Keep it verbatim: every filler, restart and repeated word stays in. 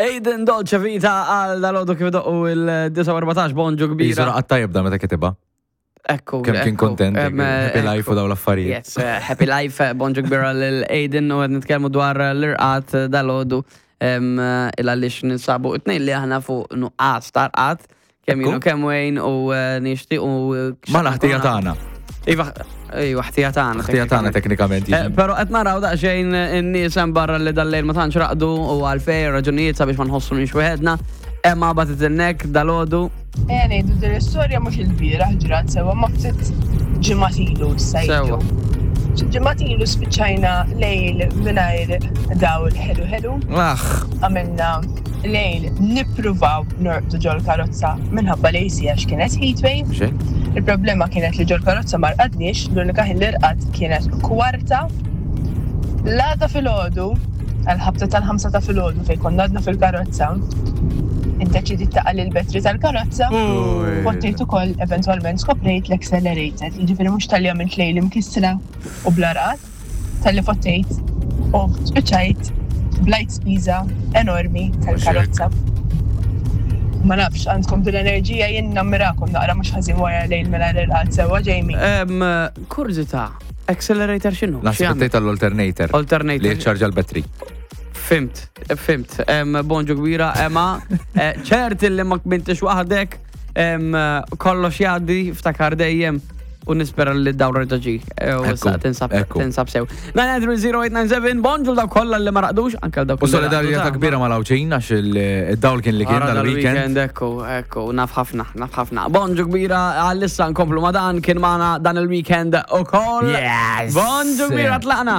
Aiden, Dolce Vita għal dalgħodu kif doqqu il-disgħa u erbatax, bonġu kbira. Jisura għatta jibda meta kitibha. Ekku. Kemm kien ekku. kontent, Em, happy life u ekku. daw l-affarijiet. Yes, eh, happy life, eh, bonġu kbira l-Aiden u qed nitkellmu dwar l-irqad dalgħodu il għaliex ninsabu it-tnejn li aħna fuq nuqqas ta' rqad kemm Ekku. jienu kemm Wayne u eh, nixtieq u eh, Ma l-ħtija tagħna. Iva, iva, ħtija tagħna. Ħtija tagħna teknikament. Eh, Pero qed naraw daqsxejn in-nies hemm barra li dal-lejl ma tantx raqdu u għalfejn raġunijiet sabiex ma nħossu weħedna. Emma batet il-nek dalgħodu. Ejja ngħidu din l-istorja mhux il-bieraħ ġrat sewwa, ma ftit ġimgħat ilu issa Sewwa. jiġu. Ġimgħat ilu spiċċajna lejl mingħajr dawl ħelu ħelu. Aħ, Għamilna lejl nippruvaw norqdu ġol karozza minħabba l-A C għax kienet heatwave. Xejn. Il-problema kienet li ġol karozza ma rqadniex, l-unika ħin li rqad kienet kwarta. L-għada filgħodu, għal-ħabta tal-ħamsa ta' filgħodu fejn konna għadna fil-karozza, iddeċidiet taqa' l-battery tal-karozza. Fottejt ukoll, eventwalment skoprejt l-accelerator, jiġifieri mhux talli għamilt lejl imkissra u bla rqad, talli fottejt u spiċċajt blajt spiża enormi tal-karozza. Ma nafx, għandkom din l-enerġija, jien nammirakom naqra mhux ħażin wara lejl mela rqad sewwa, Jamie. Em, Kurżità, accelerator x'inhu? Naħseb X'jagħmel? tgħid tal-alternator. Alternator. Li jiċċarġa l-battery. Fhimt, fhimt. Em, Bonġu kbira, Emma. Eh, ċert li ma kbintix waħdek, em, kollox jgħaddi, ftakar dejjem u nispera li d-dawra ġi. U Ekku, issa tinsab ekku. tinsab sew. nine nine three zero eight nine seven, bonġu daw kollha li ma raqdux, anke dawk U li solidarjetà raqdu, kbira mal-Għawdxin għax il-dawl kien li kien Wara dal-weekend. dal-weekend, ekku, ekku, naf ħafna, naf ħafna. Bonġu kbira, għal-issa nkomplu ma dan kien magħna dan il-weekend ukoll. Yes! Bonġu kbira, tlaqna.